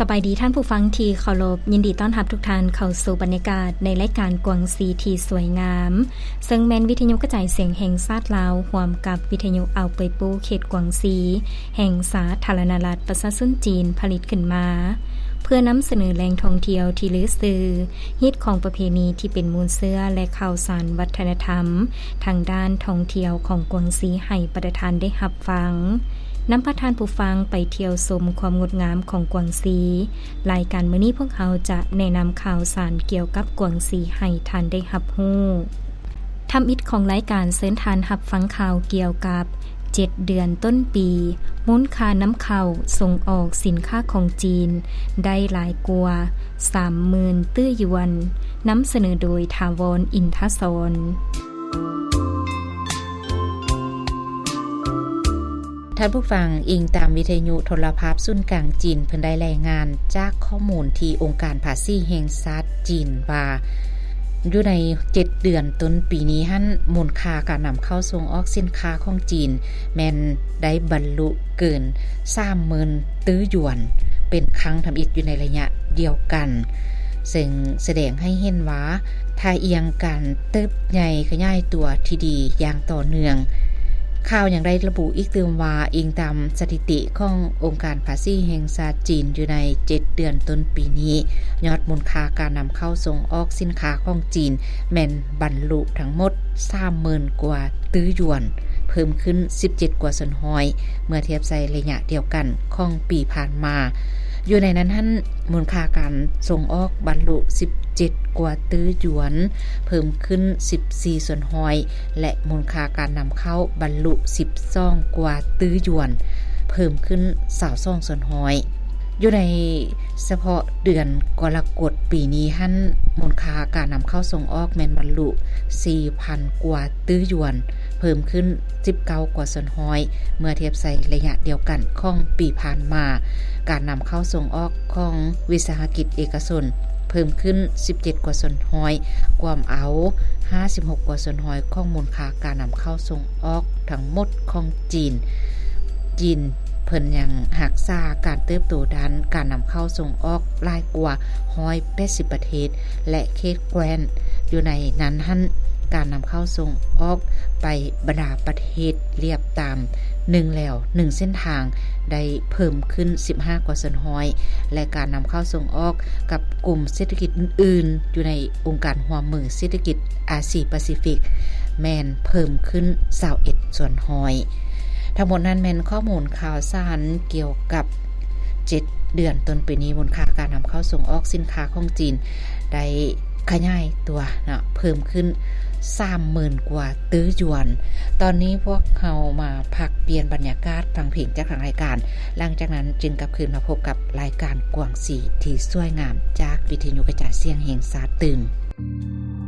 ສະບາຍດີທ່ານຜູ້ຟັງທີ່ເຄົາລົບ, ຍິນດີຕ້ອນຮັບທຸກທ່ານເຂົ້າສູ່ບັນຍາກາດໃນລາຍການກວາງຊີທີ່ສວຍງາມ, ເຊິ່ງແມ່ນວິທະຍຸກະຈາຍສຽງແຫ່ງຊາດລາວ ຮ່ວມກັບວິທະຍຸອ່າວເປີຍປູ ເຂດກວາງຊີ ແຫ່ງສາທາລະນະລັດປະຊາຊົນຈີນ ຜະລິດຂຶ້ນມາ ເພື່ອນຳສະເໜີແຫຼ່ງທ່ອງທ່ຽວທີ່ລືຊື່, ຮີດຄອງປະເພນີທີ່ເປັນມູນເຊື້ອ ແລະ ຂ່າວສານວັດທະນະທຳ ທາງດ້ານທ່ອງທ່ຽວຂອງກວາງຊີໃຫ້ບັນດາທ່ານໄດ້ຮັບຟັງ. ນຳພາທ່ານຜູ້ຟັງໄປທ່ຽວຊົມຄວາມງົດງາມຂອງກວາງຊີ. ລາຍການມື້ນີ້ພວກເຮົາຈະແນະນຳຂ່າວສານກ່ຽວກັບກວາງຊີໃຫ້ທ່ານໄດ້ຮັບຮູ້. ທຳອິດຂອງລາຍການເຊີນທ່ານຮັບຟັງຂ່າວກ່ຽວກັບເຈັດເດືອນຕົ້ນປີ, ມູນຄ່ານຳເຂົ້າສົ່ງອອກສິນຄ້າຂອງຈີນໄດ້ຫຼາຍກວ່າສາມໝື່ນຕື້ຢວນ. ນຳສະເໜີໂດຍຖາວອນ ອິນທະສອນ. ທ່ານຜູ້ຟັງ, ອີງຕາມວິທະຍຸໂທລະພາບສູນກາງຈີນ, ເພິ່ນໄດ້ລາຍງານຈາກຂໍ້ມູນທີ່ອົງການພາສີແຫ່ງຊາດຈີນວ່າ, ຢູ່ໃນເຈັດເດືອນຕົ້ນປີນີ້ຫັ້ນ, ມູນຄ່າການນຳເຂົ້າສົ່ງອອກສິນຄ້າຂອງຈີນ ແມ່ນໄດ້ບັນລຸເກີນສາມໝື່ນຕື້ຢວນ ເປັນຄັ້ງທຳອິດຢູ່ໃນໄລຍະດຽວກັນ, ເຊິ່ງສະແດງໃຫ້ເຫັນວ່າ ທ່າອ່ຽງການເຕີບໃຫຍ່ຂະຫຍາຍຕົວທີ່ດີຢ່າງຕໍ່ເນື່ອງ. ຂ່າວຍັງໄດ້ລະບຸອີກຕື່ມວ່າ, ອີງຕາມສະຖິຕິຂອງອົງການພາສີແຫ່ງຊາດຈີນ, ຢູ່ໃນເຈັດເດືອນຕົ້ນປີນີ້, ຍອດມູນຄ່າການນຳເຂົ້າສົ່ງອອກສິນຄ້າຂອງຈີນ ແມ່ນບັນລຸທັງໝົດສາມໝື່ນກວ່າຕື້ຢວນ, ເພີ່ມຂຶ້ນສິບເຈັດກວ່າສ່ວນຮ້ອຍ ເມື່ອທຽບໃສ່ໄລຍະດຽວກັນຂອງປີຜ່ານມາ. ຢູ່ໃນນັ້ນຫັ້ນ, ມູນຄ່າການສົ່ງອອກບັນລຸສິບເຈັດກວ່າຕື້ຢວນ, ເພີ່ມຂຶ້ນສິບສີ່ສ່ວນຮ້ອຍ ແລະ ມູນຄ່າການນຳເຂົ້າບັນລຸສິບສອງກວ່າຕື້ຢວນ, ເພີ່ມຂຶ້ນຊາວສອງສ່ວນຮ້ອຍ. ຢູ່ໃນສະເພາະເດືອນກໍລະກົດປີນີ້ຫັ້ນ, ມູນຄ່າການນຳເຂົ້າສົ່ງອອກແມ່ນບັນລຸສີ່ພັນກວ່າຕື້ຢວນ, ເພີ່ມຂຶ້ນສິບເກົ້າກວ່າສ່ວນຮ້ອຍ ເມື່ອທຽບໃສ່ໄລຍະດຽວກັນຂອງປີຜ່ານມາ. ການນຳເຂົ້າສົ່ງອອກຂອງວິສາຫະກິດເອກະຊົນ ເພີ່ມຂຶ້ນສິບເຈັດກວ່າສ່ວນຮ້ອຍ, ກວມເອົາຫ້າສິບຫົກກວ່າສ່ວນຮ້ອຍຂອງມູນຄ່າການນຳເຂົ້າສົ່ງອອກທັງໝົດຂອງຈີນ. ຈີນເພິ່ນຍັງຮັກສາການເຕີບໂຕດ້ານການນຳເຂົ້າສົ່ງອອກຫຼາຍກວ່າຮ້ອຍແປດສິບປະເທດ ແລະ ເຂດແຄວ້ນ. ຢູ່ໃນນັ້ນຫັ້ນ, ການນຳເຂົ້າສົ່ງອອກໄປບັນດາປະເທດລຽບຕາມໜຶ່ງແລວໜຶ່ງເສັ້ນທາງ ໄດ້ເພີ່ມຂຶ້ນສິບຫ້າກວ່າສ່ວນຮ້ອຍ ແລະ ການນຳເຂົ້າສົ່ງອອກກັບກຸ່ມເສດຖະກິດອື່ນໆ ຢູ່ໃນອົງການຮ່ວມມືເສດຖະກິດອາຊີປາຊີຟິກ ແມ່ນເພີ່ມຂຶ້ນຊາວເອັດສ່ວນຮ້ອຍ. ທັງໝົດນັ້ນແມ່ນຂໍ້ມູນຂ່າວສານກ່ຽວກັບເຈັດເດືອນຕົ້ນປີນີ້, ມູນຄ່າການນຳເຂົ້າສົ່ງອອກສິນຄ້າຂອງຈີນໄດ້ຂະຫຍາຍຕົວເນາະ, ເພີ່ມຂຶ້ນສາມໝື່ນກວ່າຕື້ຢວນ. ຕອນນີ້ພວກເຮົາມາພັກປ່ຽນບັນຍາກາດຟັງເພງຈາກທາງລາຍການ, ຫຼັງຈາກນັ້ນຈຶ່ງກັບຄືນມາພົບກັບລາຍການກວາງສີທີ່ສວຍງາມຈາກວິທະຍຸກະຈາຍສຽງແຫ່ງຊາດຕື່ມ.